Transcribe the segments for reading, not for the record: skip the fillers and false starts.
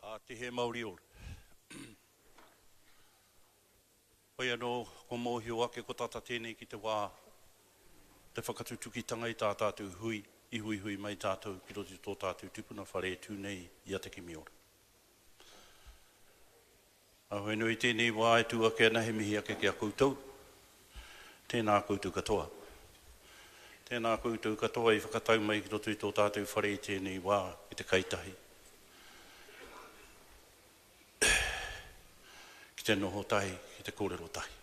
Ā Tihe mauri ora. Hoi anō, kua mōhio ake ko tata tēnei ki te wā te whakatutukitanga i tā tātou hui i huihui mai tātou ki roto i tō tātou tupuna whare e tū nei i a Te Kimiora. Ā, hoi anō i tēnei wā e tū ake ana he mihi ake ki a koutou. Tēnā koutou katoa. Tēnā koutou katoa i whakatau mai ki roto i tō tātou whare i tēnei wā ki te kai tahi. Ki te noho tahi, ki te kōrero tahi.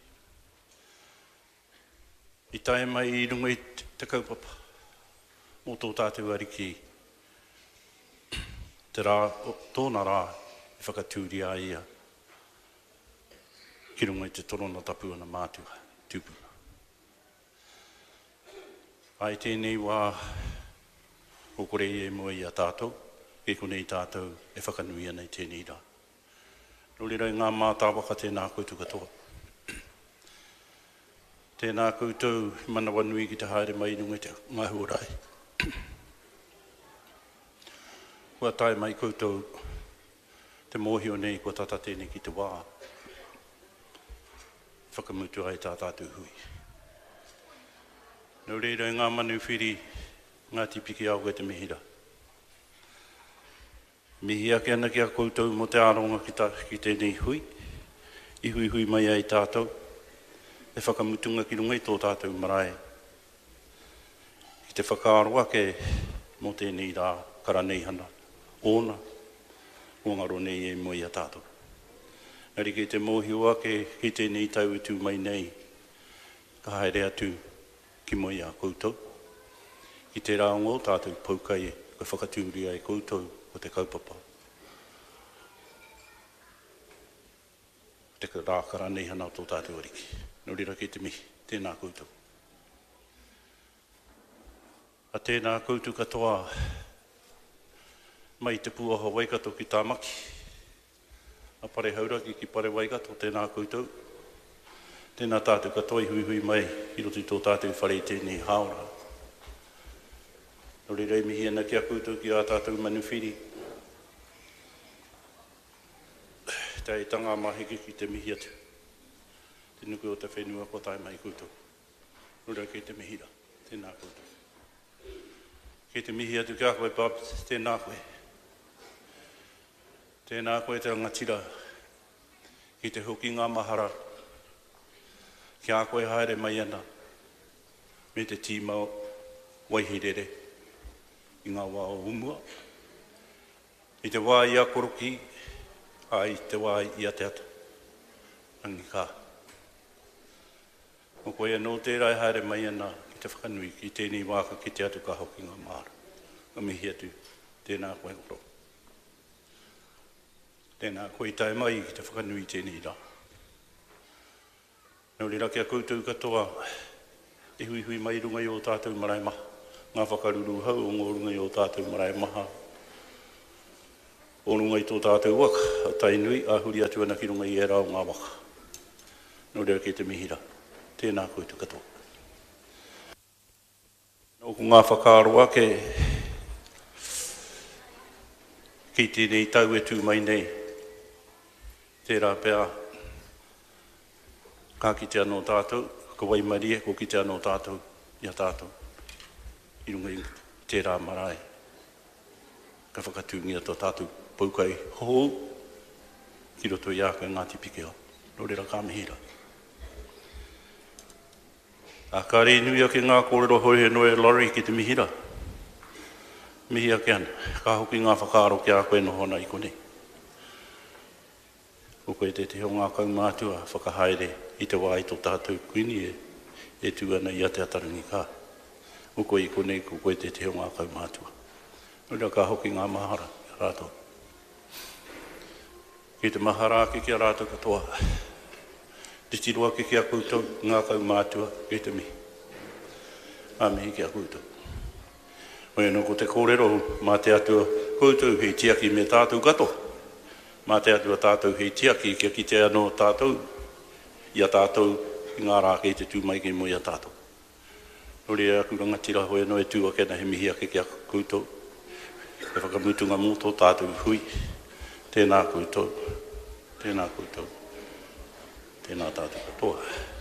I tae mai i runga i te kaupapa mō tō tātou Ariki te rā, tōna rā i whakatūria ai ia ki runga i te torona tapu ana mātua, tūpuna. Ā, i tēnei wā, kua kore ia i mua i a tātou, kei konei tātou e whakanui ana i tēnei rā. Nō reira, e ngā mātāwaka, tēnā koutou katoa. Tēnā koutou i manawanui ki te haere mai i runga i te ngā huarahi. Kua tae mai koutou te mōhio nei kua tata tēnei ki te wā. Whakamutu ai tā tātou hui. Nō reira e ngā manuwhiri, Ngāti Pikiao kei te mihi rā. Mihi ake ana ki a koutou mō te aronga ki, ta, ki tēnei hui, i huihui mai ai tātou, he whakamutunga ki runga i tō tātou marae, ki te whakaaro ake mō tēnei rā karaneihana ōna, kua ngaro nei e mua i a tātou. Engari kei te mōhio ake ki tēnei tau e tū mai nei, ka haere atu ki mua i a koutou, ki tērā o ngō tātou poukai kua whakatūria e koutou ko te kaupapa, ko te rā karaneihana o tō tātou Ariki. Nō reira kei te mihi, tēnā koutou. A tēnā koutou katoa mai Te Pūaha Waikato ki Tāmaki, a Pare Hauraki ki Pare Waikato, tēnā koutou. Tēnā tātou katoa i huihui mai i roto i tō tātou whare i tēnei hāora. Nō reira e mihi ana ki a koutou ki ā tātou manuwhiri. Te aitanga a Maheke ki te mihi atu. Te nuku o te whenua kua tae mai koutou. Nō reira kei te mihi rā. Tēnā koutou. Kei te mihi atu ki a koe, Bob, tēnā koe. Tēnā koe te rangatira ki te hoki ngā mahara ki a koe haere mai ana me te tīma Waihirere i ngā wā o mua. I te wā i a Korokī, ā, i te wā i a Te Ata. Rangi ka. Ko koe anō tērā e haere mai ana ki te whakanui ki tēnei wā ka kite atu ka hoki ngā māra. Ka mihi atu, tēnā koe koro. Tēnā koe i tae mai ki te whakanui i tēnei rā. Nō reira ki a koutou katoa e huihui mai i runga i ō tātou marae maha, ngā whakaruruhau o ngō runga i ō tātou marae maha, O runga i tō tātou waka, a Tainui, ā, huri atu ana ki runga i ērā o ngā waka. Nō reira kei te mihi rā. Tēnā koutou katoa. Nōku ngā whakaaro ake ki tēnei tau e tū mai nei, tērā pea ka kite anō tātou, ka waimarie, kua kite anō tātou i a tātou i runga i tērā marae. Ka whakatūngia tō tātou poukai hou ki roto i a koe Ngāti Pikiao. Nō reira ka mihi rā. Ā, kāre i nui ake ngā kōrero hou he noa e Laurie ki te mihi rā. Mihi ake ana. Ka hoki ngā whakaaro ki a koe noho ana i konei. Ko koe tētehi o ngā kaumātua whakahaere i te wā i tō tātou Kuini e tū ana i a Te Atarangi Ka. Ko koe i konei, ko koe tētehi o ngā kaumātua. Nō reira ka hoki ngā mahara ki a rātou. Ki te mahara ake ki a rātou katoa. Titiro ake ki a koutou, ngā kaumātua, kei te mihi. Ngā mihi ki a koutou. Hoi anō ko te kōrero mā te Atua koutou hei tiaki me tātou katoa. Mā te Atua tātou hei tiaki kia kite anō tātou i a tātou i ngā rā kei te tū mai kei mua i a tātou. Nō reira aku rangatira hoi anō e tū ake ana he mihi ake ki a koutou he whakamutunga mō tō tātou hui. Tēnā koutou, tēnā koutou, tēnā tātou katoa.